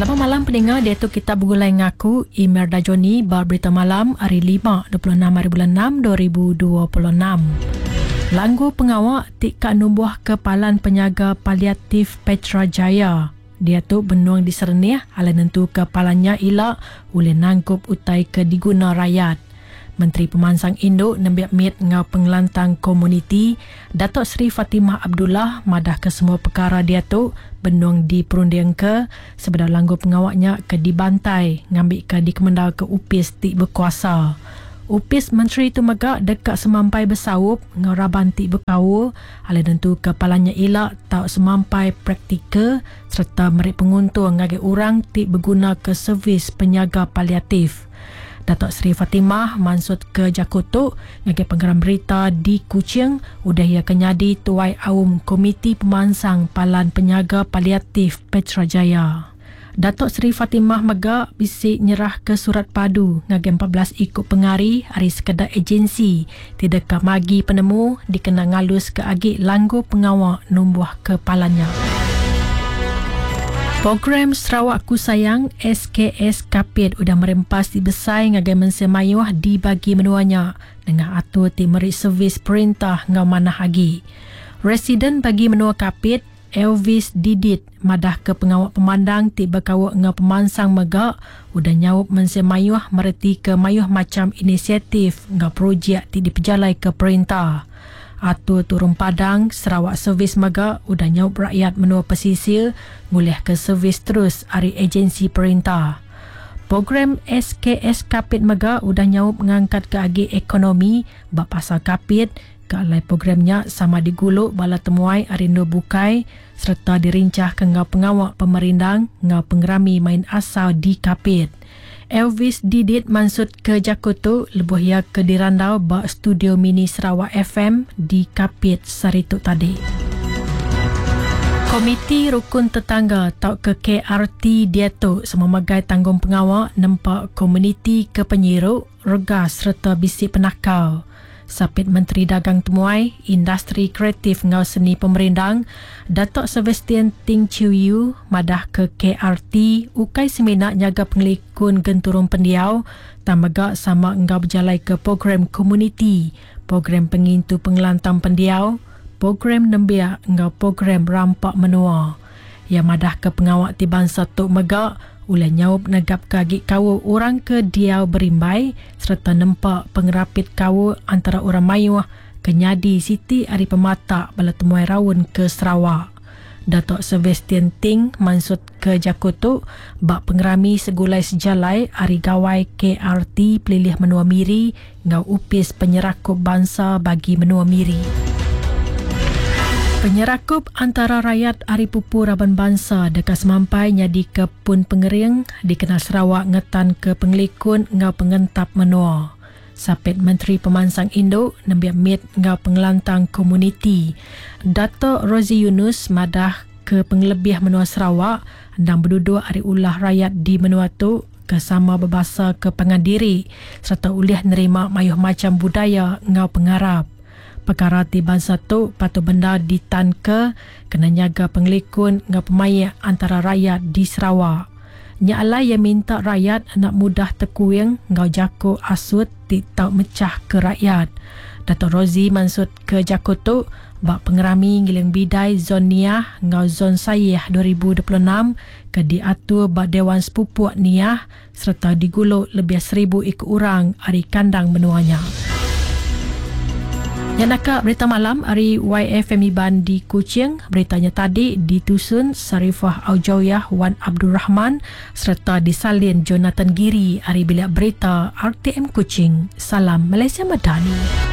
Selamat malam peninga diatu kita begulai ngaku Imerda Johnny ba berita malam hari 5 26 hari bulan 6 2026. Langgu pengawa ti ka numbuh ke palan penyaga paliatif Petra Jaya diatu benung diserenih alai nentuka palan nya ila ulih nangkup utai ke diguna rayat. Menteri Pemansang Indu, Nembiak Mit enggau Pengelantang Komuniti, Datuk Seri Fatimah Abdullah madahka semua pekara diatu benung diperundingka sebedau langgur pengawa nya ke dibantai ngambika dikemendarka opis ti bekuasa. Opis menteri tu mega deka semampai besaup enggau raban ti bekaul alai nentuka palan nya ila tau semampai praktikal sereta meri penguntung ngagai orang ti begunaka servis penyaga paliatif. Datuk Seri Fatimah mansutka jaku tu ngagai pengeran berita di Kuching udah iya ke nyadi Tuai Aum Komiti Pemansang Palan Penyaga Paliatif Petra Jaya. Datuk Seri Fatimah mega bisi nyerahka surat padu ngagai 14 iku pengari ari sekeda ejensi ti deka magi penemu dikena ngaluska agi langgur pengawa numbuhka palan nya. Program Sarawak Ku Sayang, SKS, Kapit udah meri empas ti besai ngagai mensia mayuh di bagi menua nya nengah atur ti meri servis perintah enggau manah agi. Residen Bagi Menua Kapit, Elvis Didit madahka pengawa pemandang ti bekaul enggau pemansang mega udah nyaup mensia mayuh meretika mayuh macham inisiatif enggau projek ti dipejalaika perintah. Atur Turun Padang Sarawak Service mega udah nyaup rakyat menua pesisir ngulihka servis terus ari ejensi perintah. Program SKS Kapit mega udah nyaup ngangkatka agi ekonomi ba pasar Kapit ke alai program nya sama digulu bala temuai ari endur bukai sereta dirinchahka enggau pengawa pemerindang enggau pengerami main asal di Kapit. Elvis Didit mansutka jaku tu lebuh iya ke dirandau ba Studio Mini Sarawak FM di Kapit sehari tu tadi. Komiti Rukun Tetangga tauka KRT diatu sama megai tanggungpengawa nempa komuniti ke penyiru, regas sereta bisi penakal. Sapit Menteri Dagang Temuai, Industri Kreatif enggau Seni Pemerindang, Datuk Sebastian Ting Chiew Yew madahka KRT ukai semina nyaga pengelikun genturung pendiau tang mega sama enggau bejalaika program komuniti, program pengintu pengelantang pendiau, program nembiak enggau program rampa menua. Iya madahka pengawa ti bansa tu mega ulih nyaup negapka agi kaul orang ke diau berimbai sereta nempa pengerapit kaul antara orang mayuh ke nyadi siti ari pematak bala temuai raun ke Sarawak. Datuk Sebastian Ting mansutka jaku tu ba Pengerami Segulai Sejalai Hari Gawai KRT Pelilih Menua Miri enggau Opis Penyerakup Bansa Bagi Menua Miri. Penyerakup antara rayat ari pupu raban bansa deka semampai nyadika pun pengering dikena Sarawak ngetanka pengelikun enggau pengentap menua. Sapit Menteri Pemansang Indu, Nembiak Mit enggau Pengelantang Komuniti, Datuk Rosey Yunus madah ke pengelebih menua Sarawak endang beduduk ari ulah rayat di menua tu ke sama bebasaka pangan diri sereta ulih nerima mayuh macham budaya enggau pengarap. Pekara ti bansa tu patut bendar ditanka kena nyaga pengelikun enggau pemaik antara rayat di Sarawak. Nya alai iya minta rayat enda mudah tekuing enggau jaku asut ti tau mechahka rakyat. Dato Rozi mansutka jaku tu ba Pengerami Ngiling Bidai Zon Niah enggau Zon Sayih 2026 ke diatur ba Dewan Sepupuk Niah sereta digulu lebih seribu iku orang ari kandang menua nya. Nya naka berita malam ari YFM Iban di Kuching. Berita nya tadi ditusun Sarifah Aujawiyah Wan Abdul Rahman sereta disalin Jonathan Giri ari Bilik Berita RTM Kuching. Salam Malaysia Madani.